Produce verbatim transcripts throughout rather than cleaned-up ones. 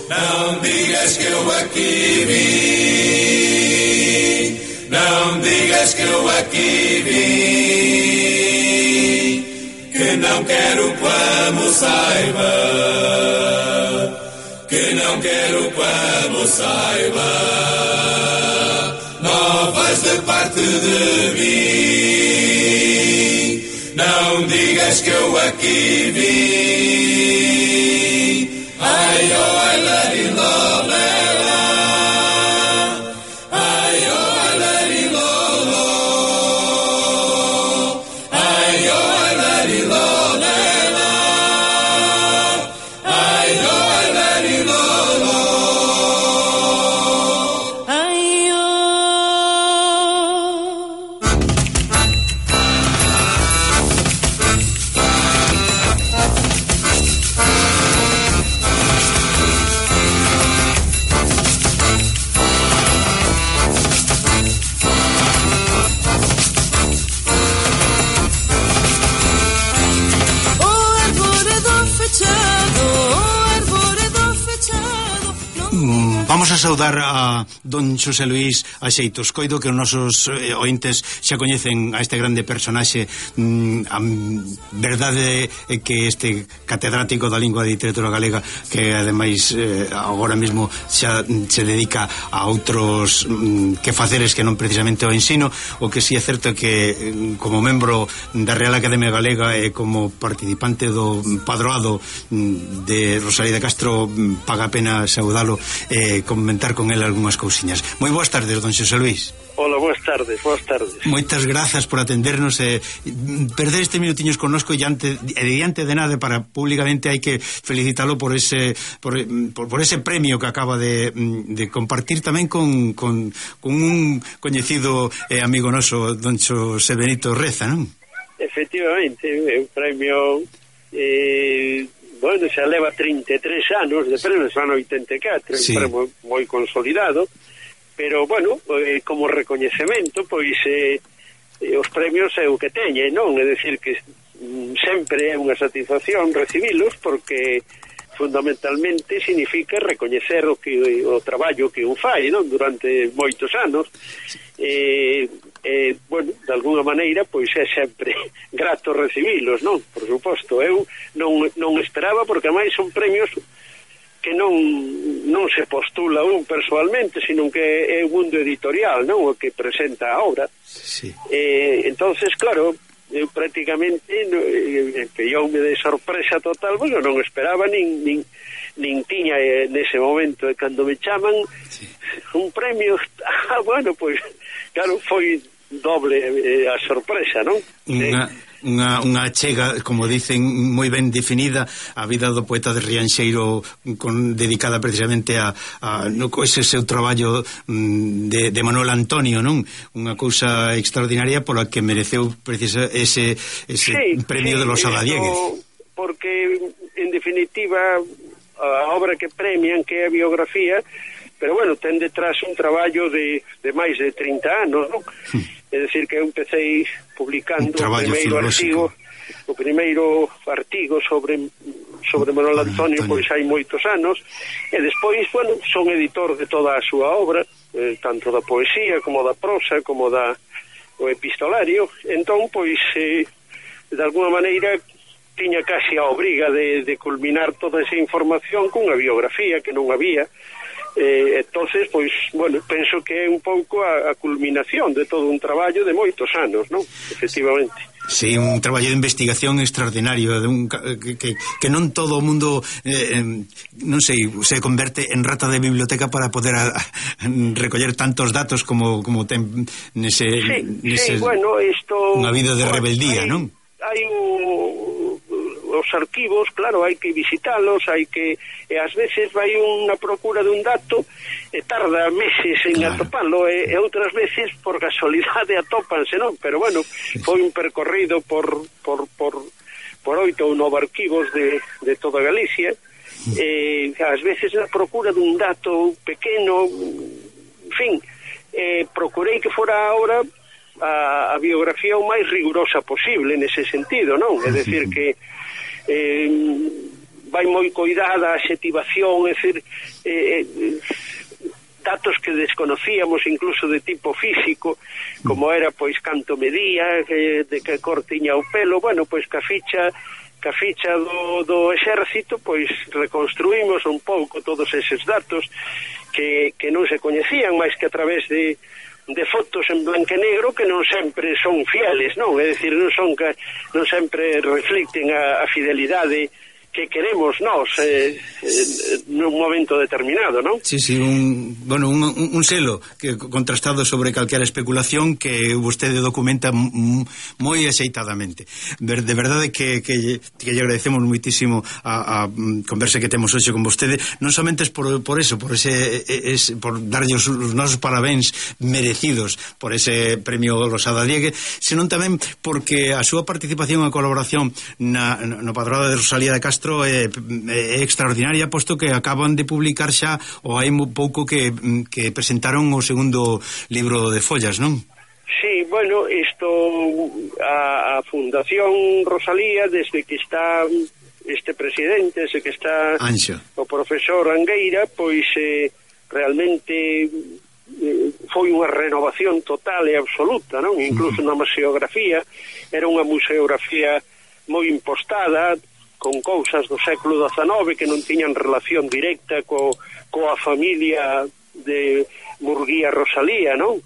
Non digas que eu aquí vim, non digas que eu aquí vim, que non quero como saiba, que non quero como saiba, non vais de parte de mim, non digas que eu aquí vim, ai, oh, ai, let it love, let Vamos a saudar a don Xosé Luís Axeitos. Coido que os nosos eh, ointes xa coñecen a este grande personaxe. mm, A verdade é que este catedrático da lingua e literatura galega, que ademais eh, agora mesmo xa se dedica a outros mm, quefaceres que non precisamente o ensino, o que si é certo que mm, como membro da Real Academia Galega e como participante do padroado mm, de Rosalía de Castro, mm, paga a pena saudalo e eh, comentar con ele algunhas cousiñas. Moi boas tardes, don Xosé Luís. Hola, boas tardes, boas tardes. Moitas grazas por atendernos e perder este minutiños connosco e ante, e diante de nada para públicamente hai que felicitalo por ese por, por, por ese premio que acaba de, de compartir tamén con, con, con un coñecido eh, amigo noso, don Xosé Benito Reza, non? Efectivamente, é un premio eh, bueno, xa leva trinta e tres anos de premio, son oitenta e catro, sí. Un premio moi consolidado, pero, bueno, eh, como recoñecemento, pois eh, eh, os premios é o que teñen, non? É dicir que mm, sempre é unha satisfacción recibilos, porque fundamentalmente significa recoñecer o que o traballo que un fai, non? Durante moitos anos. Eh, eh, bueno, de alguna maneira, pois é sempre grato recibilos, non? Por suposto, eu non, non esperaba, porque máis son premios que non non se postula un persoalmente, sino que é o mundo editorial, non? O que presenta a obra. Sí. Eh, entonces, claro, eu prácticamente pilloume de sorpresa total, porque eu non esperaba, nin, nin, nin tiña eh, nese momento, e cando me chaman sí. Un premio, ah, bueno, pois claro, foi doble eh, a sorpresa, non? Unha, unha, unha chega, como dicen, moi ben definida a vida do poeta de Rianxeiro, con, dedicada precisamente a, a no, ese seu traballo de, de Manuel Antonio, non? Unha cousa extraordinaria pola que mereceu precisa ese, ese sí, premio sí, de los Saladiegues. Porque, en definitiva, a obra que premian, que é a biografía, pero bueno, ten detrás un traballo de, de máis de trinta anos, non? Hmm. É dicir, que eu empecé publicando o primeiro artigo, o primeiro artigo sobre sobre Manuel Antonio, Antonio, pois hai moitos anos, e despois, bueno, son editor de toda a súa obra, eh, tanto da poesía, como da prosa, como da o epistolario. Entón, pois, eh, de alguna maneira, tiña casi a obriga de, de culminar toda esa información cunha biografía que non había. Eh, entonces, pois, bueno, penso que é un pouco a, a culminación de todo un traballo de moitos anos, non? Efectivamente. Sí, un traballo de investigación extraordinario, de un, que, que, que non todo o mundo eh, non sei, se converte en rata de biblioteca para poder a, a, recoller tantos datos como, como ten nese, sí, nese sí, bueno, isto, unha vida de rebeldía, hai, non? Hai un os arquivos, claro, hai que visitalos, hai que, e ás veces vai unha procura de un dato e tarda meses en claro. atopalo, e, e outras veces por casualidade atópanse, non? Pero bueno, foi un percorrido por por por por oito ou nove arquivos de, de toda Galicia, e ás veces na procura dun dato pequeno, en fin, eh, procurei que fora ahora a, a biografía o máis rigurosa posible nese sentido, non? É dicir que eh, vai moi coidada a adxetivación, é dicir, eh, datos que desconocíamos incluso de tipo físico, como era pois canto medía, eh, de que cor tiña o pelo. Bueno, pois que a ficha que a ficha do, do exército, pois reconstruímos un pouco todos eses datos que, que non se coñecían máis que a través de de fotos en blanco e negro que non sempre son fieles, non? É dicir, non son que non sempre reflicten a, a fidelidade que queremos nós eh, eh, nun momento determinado, non? Sí, sí, un, bueno, un, un selo que contrastado sobre calquera especulación que vostede documenta moi axeitadamente. De verdade que, que, que lle agradecemos moitísimo a, a conversa que temos hoxe con vostede, non somente por, por eso, por ese, es, por darlle os, os nosos parabéns merecidos por ese premio Rosada Diegue, senón tamén porque a súa participación e colaboración na, no Padroado de Rosalía de Castro É, é extraordinaria, posto que acaban de publicar xa ou hai pouco que, que presentaron o segundo libro de follas, non? Sí, bueno, isto a, a Fundación Rosalía, desde que está este presidente, desde que está Anxo. O profesor Angueira, pois eh, realmente eh, foi unha renovación total e absoluta, non? Incluso uh-huh. na museografía, era unha museografía moi impostada, con cousas do século dezanove que non tiñan relación directa co, coa familia de Murguía Rosalía, non?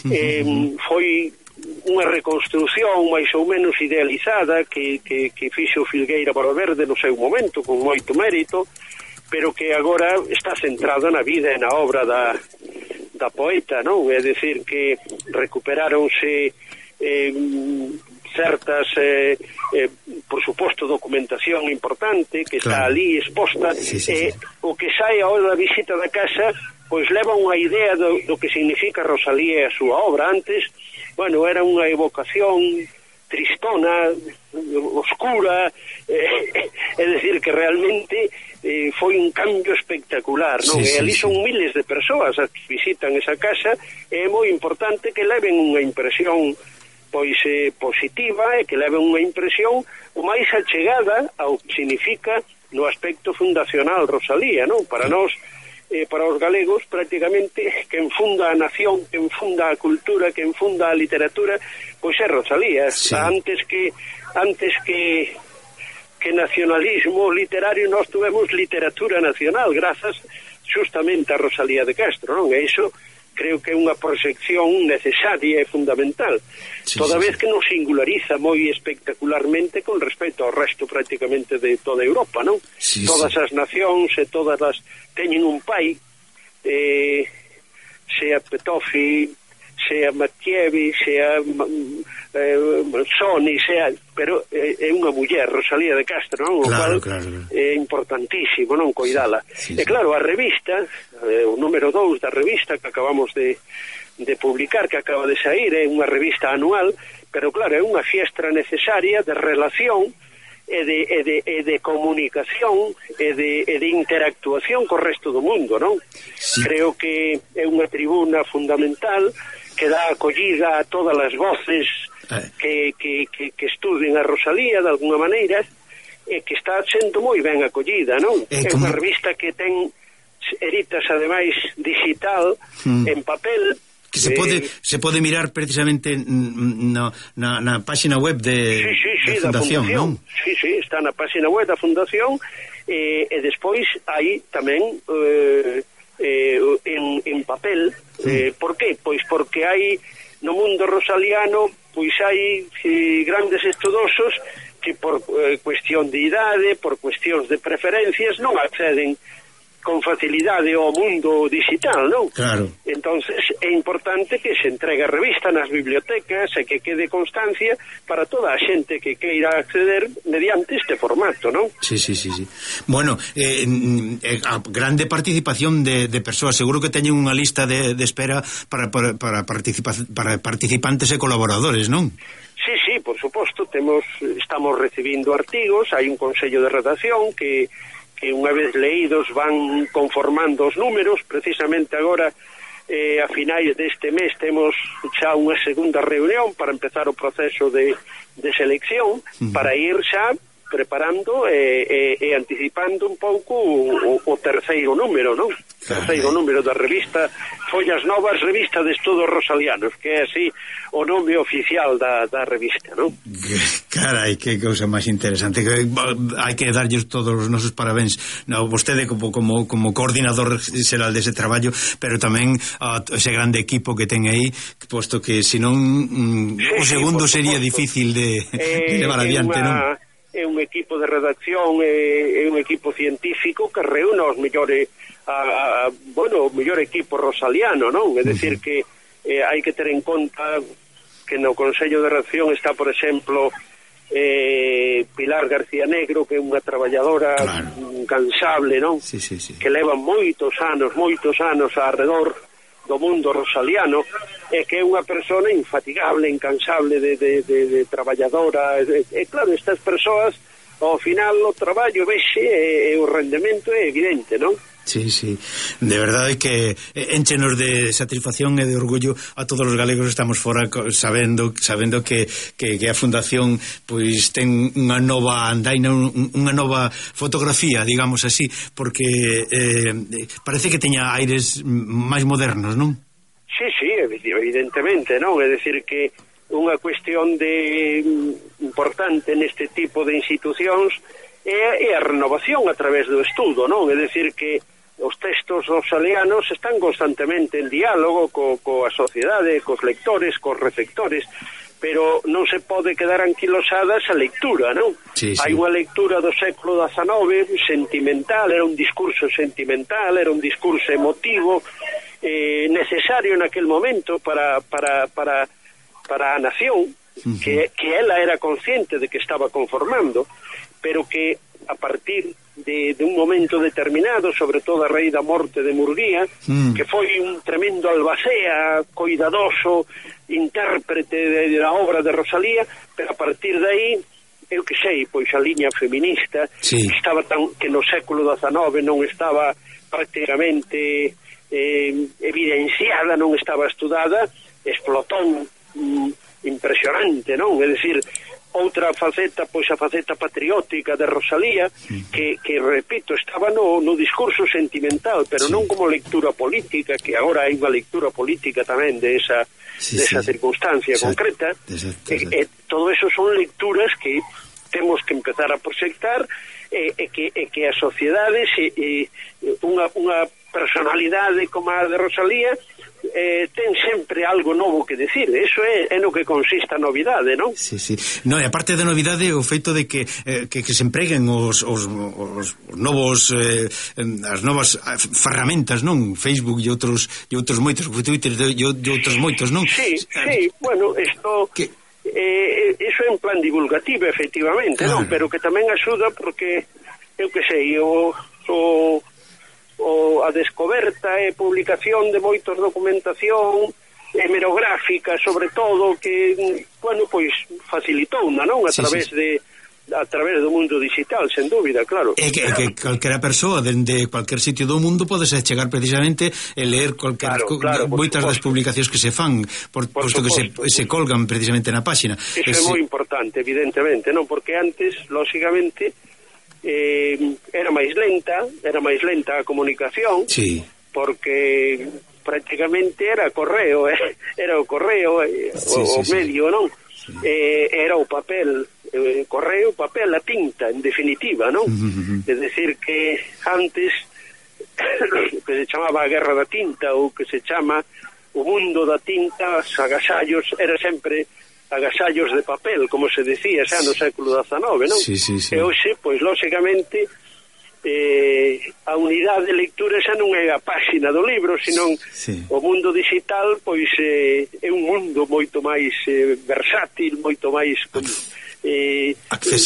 Eh, foi unha reconstrución máis ou menos idealizada que, que, que fixo Filgueira Boroverde no seu momento, con moito mérito, pero que agora está centrada na vida e na obra da, da poeta, non? É dicir, que recuperáronse eh, certas eh, eh, por suposto documentación importante que claro. Está ali exposta, sí, sí, eh, sí. O que sai a hora da visita da casa pois leva unha idea do, do que significa Rosalía e a súa obra. Antes, bueno, era unha evocación tristona, oscura, eh, é dicir que realmente eh, foi un cambio espectacular, non? Sí, e ali sí, son sí. miles de persoas as que visitan esa casa, e é moi importante que leven unha impresión pois eh, positiva e que leve unha impresión o máis achegada ao que significa no aspecto fundacional Rosalía, non? Para nós, eh, para os galegos, prácticamente quen funda a nación, quen funda a cultura, quen funda a literatura, pois é Rosalía. Sí. Antes que antes que que nacionalismo literario, nós tuvemos literatura nacional grazas justamente a Rosalía de Castro, non? E iso creo que é unha proxección necesaria e fundamental, sí, toda sí, vez sí. que nos singulariza moi espectacularmente con respecto ao resto prácticamente de toda Europa, non? Sí, todas sí. as nacións e todas as teñen un pai, eh, sea Petofi, sea Mattievi, sea eh, Sony, sea, pero eh, é unha muller, Rosalía de Castro, non? Claro, o cual claro. é importantísimo, non, coidala. Sí, sí, e claro, a revista, eh, o número dous da revista que acabamos de, de publicar, que acaba de sair, é unha revista anual, pero claro, é unha fiestra necesaria de relación e de, e de, e de comunicación e de, e de interactuación co resto do mundo, non? Sí. Creo que é unha tribuna fundamental que dá acollida a todas as voces que, que, que, que estuden a Rosalía de alguna maneira, e que está sendo moi ben acollida, non? É, é unha revista que ten editas ademais digital, hmm. en papel, que se pode eh, se pode mirar precisamente no, na, na página web de, sí, sí, sí, da Fundación, da Fundación, non? Sí, sí, está na página web da Fundación, eh, e despois hai tamén eh, eh, en, en papel. Eh, por qué? Pois porque hai no mundo rosaliano, pois hai eh, grandes estudosos que por eh, cuestión de idade, por cuestións de preferencias, non acceden con facilidade ao mundo digital, non? Claro. Entonces é importante que se entregue a revista nas bibliotecas e que quede constancia para toda a xente que queira acceder mediante este formato, non? Sí, sí, sí, sí. Bueno, eh, eh, a grande participación de, de persoas, seguro que teñen unha lista de, de espera para, para, para, participa, para participantes e colaboradores, non? Sí, sí, por suposto, temos, estamos recibindo artigos, hai un consello de redacción que que unha vez leídos van conformando os números. Precisamente agora, eh, a finais deste mes, temos xa unha segunda reunión para empezar o proceso de, de selección, uh-huh. para ir xa preparando e, e, e anticipando un pouco o, o terceiro número, non? Terceiro número da revista Follas Novas, revista de estudos rosalianos, que é así o nome oficial da, da revista, non? Carai, que cousa máis interesante. Hai que darlles todos os nosos parabéns, no, vostede como, como, como coordinador xeral dese traballo, pero tamén a ese grande equipo que ten aí, posto que senón mm, sí, o segundo sí, sería difícil de, eh, de levar adiante, una... non? É un equipo de redacción, é, é un equipo científico que reúne os mellores a, a, bueno, o mellor equipo rosaliano, non? É dicir que eh, hai que ter en conta que no Consello de Redacción está, por exemplo, eh, Pilar García Negro, que é unha traballadora claro. incansable, non? Sí, sí, sí. Que leva moitos anos, moitos anos arredor do mundo rosaliano, e que é unha persona infatigable, incansable de, de, de, de traballadora, e, e claro, estas persoas ao final o traballo vexe e, e o rendemento é evidente, non? Sí, sí, de verdade que énchenos de satisfacción e de orgullo a todos os galegos estamos fora sabendo sabendo que, que, que a Fundación pois ten unha nova andaina, un, unha nova fotografía, digamos así, porque eh, parece que teña aires máis modernos, non? Sí, sí, evidentemente, non? É dicir que unha cuestión de importante neste tipo de institucións é, é a renovación a través do estudo, non? É dicir que os textos rosalianos están constantemente en diálogo co, coa sociedade, cos lectores, cos receptores, pero non se pode quedar anquilosada esa lectura, non? Sí, sí. Hai unha lectura do século dezenove sentimental, era un discurso sentimental, era un discurso emotivo, eh, necesario naquel momento para, para, para, para a nación, uh-huh. que, que ela era consciente de que estaba conformando, pero que a partir de, de un momento determinado, sobre todo a raíz da morte de Murguía, mm. que foi un tremendo albacea, coidadoso, intérprete da obra de Rosalía, pero a partir de aí, eu que sei, pois a liña feminista, sí. que estaba tan, que no século dezenove non estaba prácticamente eh, evidenciada, non estaba estudada, explotou mm, impresionante, non? É dicir, outra faceta, pois a faceta patriótica de Rosalía, que, que repito, estaba no, no discurso sentimental, pero sí. non como lectura política, que agora hai unha lectura política tamén de esa, sí, de esa sí. circunstancia exacto. concreta. Exacto, exacto. E, e todo eso son lecturas que temos que empezar a proxectar e, e, que, e que a sociedade se, e, unha, unha personalidade como a de Rosalía eh, ten sempre algo novo que decir. Eso é, é no que consiste a novidade, non? Sí, sí. No, e aparte da novidade o feito de que, eh, que, que se empreguen os, os, os novos eh, as novas ferramentas, non? Facebook e outros e outros moitos, Twitter e outros moitos, non? Sí, sí, bueno, isto que eh, eso é un plan divulgativo, efectivamente, claro. non? Pero que tamén axuda porque eu que sei, o, o o a descoberta e publicación de moitos documentación hemerográfica, sobre todo, que, bueno, pois facilitou, non? A sí, través sí. de a través do mundo digital, sen dúbida, claro. E que, que calquera persoa dende cualquier sitio do mundo podese chegar precisamente e ler cualquier claro, claro, moitas das publicacións que se fan, por, por posto suposto. que se, se colgan precisamente na páxina. Eso es, é moi importante, evidentemente, non? Porque antes, lógicamente, Eh, era máis lenta, era máis lenta a comunicación, sí. porque prácticamente era correo, eh? era o correo, eh, sí, o, sí, o medio, sí. non? Sí. Eh, era o papel, eh, correo, papel, a tinta, en definitiva, non? Uh-huh. É dicir que antes que se chamaba a guerra da tinta ou que se chama o mundo da tinta, os agasallos, era sempre agasallos de papel, como se decía xa no século dezenove, non? Sí, sí, sí. E hoxe, pois, lógicamente, eh, a unidade de lectura xa non é a páxina do libro, senón sí. o mundo digital, pois, eh, é un mundo moito máis eh, versátil, moito máis con, eh,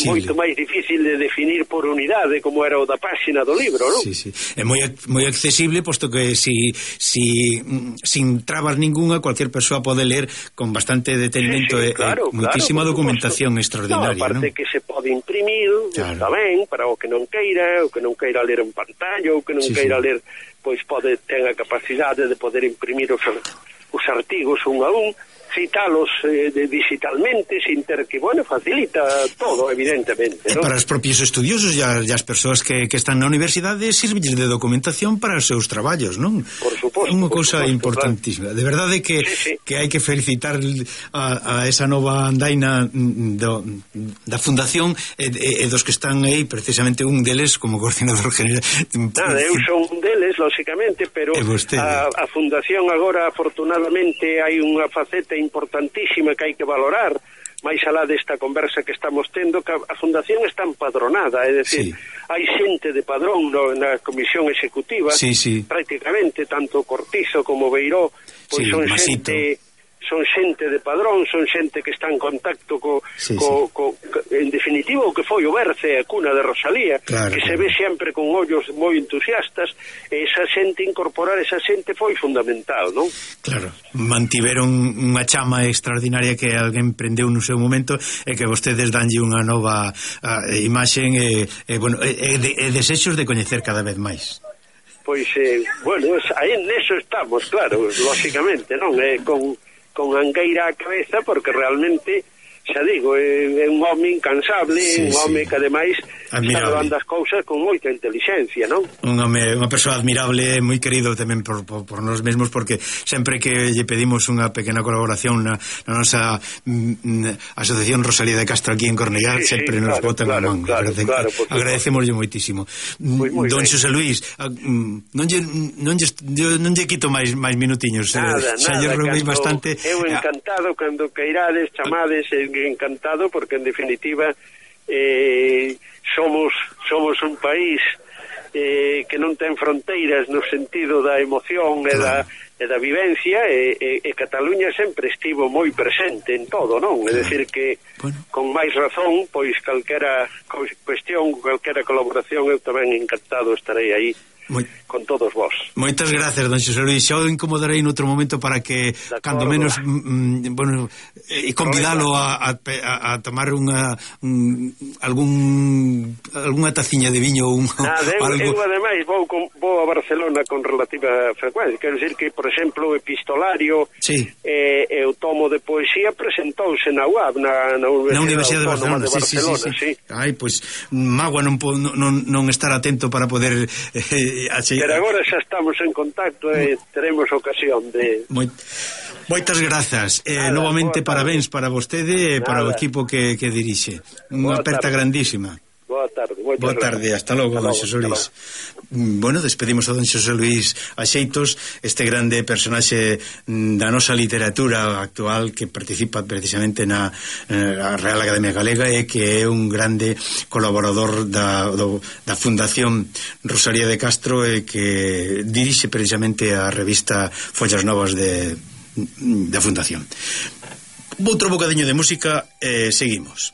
moito máis difícil de definir por unidade, como era o da páxina do libro, non? Sí, sí. É moi, moi accesible, posto que si, si sin trabas ninguna, cualquier persoa pode ler con bastante detenimento sí, sí, e claro, muitísima claro, documentación suposto. extraordinaria, no, aparte non? que se pode imprimir, claro. está ben, para o que non queira, o que non queira ler en pantalla, o que non sí, queira sí. ler, pois pode ter a capacidade de poder imprimir os, os artigos un a un, citalos eh, de, digitalmente sin ter que, bueno, facilita todo, evidentemente, e ¿no? para os propios estudiosos e as persoas que, que están na universidade sirvilles de documentación para os seus traballos, non? Por suposto, unha por cousa suposto, importantísima, claro. De verdade que, sí, sí. que hai que felicitar a, a esa nova andaina do, da fundación e, e, e dos que están aí, precisamente un deles como coordinador general. Nada, eu son un deles, lógicamente, pero a, a fundación agora, afortunadamente, hai unha faceta importantísima que hai que valorar, máis alá desta conversa que estamos tendo, que a fundación está empadronada, é dicir, sí. hai xente de padrón no, na comisión executiva, sí, sí. prácticamente, tanto Cortizo como Beiró, pois sí, son Masito. xente... son xente de padrón, son xente que está en contacto co, sí, co, sí. co, en definitiva o que foi o berce a cuna de Rosalía, claro, que claro. se ve sempre con ollos moi entusiastas, e esa xente, incorporar esa xente foi fundamental, non? Claro, mantiveron unha chama extraordinaria que alguén prendeu no seu momento e que vostedes danlle unha nova uh, imaxe e, e, bueno, e, e, e desexos de coñecer cada vez máis. Pois, eh, bueno, aí neso estamos, claro, lógicamente, non? Eh, con con angueira a cabeza, porque realmente, xa digo, é, é un home incansable, sí, un home sí. que ademais está levando as cousas con moita inteligencia, non? Un home, unha persoa admirable, moi querido tamén por, por, por nós mesmos, porque sempre que lle pedimos unha pequena colaboración na, na nosa mm, Asociación Rosalía de Castro aquí en Cornellá, sí, sempre sí, nos claro, botan claro, a man. Claro, claro, agradecemoslle moitísimo. Muy, muy Don Xosé Luís, non lle, non lle, non lle quito máis máis minutiños. Nada, xa lle roubei bastante. Eu encantado, cando queirades, chamades, encantado, porque en definitiva eh, somos somos un país eh, que non ten fronteiras no sentido da emoción e da, e da vivencia, e, e, e Cataluña sempre estivo moi presente en todo, non? É dicir que bueno. Con máis razón, pois calquera cuestión, calquera colaboración, eu tamén encantado estarei aí Moi... con todos vos. Moitas gracias, don Xosé Luís. Xa o incomodarei noutro momento para que, cando menos, mm, bueno, e convidalo a, a, a tomar unha un, algún algunha taciña de viño ou un, Nada, eu, algo... eu ademais vou, con, vou a Barcelona con relativa frecuencia. Quero dicir que, por exemplo, o epistolario sí. e, e o tomo de poesía presentouse na U A B, na, na Universidade, na Universidade de Barcelona, de Barcelona sí, sí, sí, sí. Ai, pois, pues, mágoa non, non, non estar atento para poder... Eh, Así, pero agora xa estamos en contacto e teremos ocasión de... Moi, moitas grazas eh, novamente parabéns para vostede e para o equipo que, que dirixe. Unha aperta grandísima. Boa tarde. Boa tarde, hasta logo, don Xosé Luís. Bueno, despedimos a don Xosé Luís Axeitos, este grande personaxe da nosa literatura actual que participa precisamente na, na Real Academia Galega e que é un grande colaborador da, do, da Fundación Rosalía de Castro e que dirixe precisamente a revista Follas Novas de, da Fundación. Outro bocadiño de música e seguimos.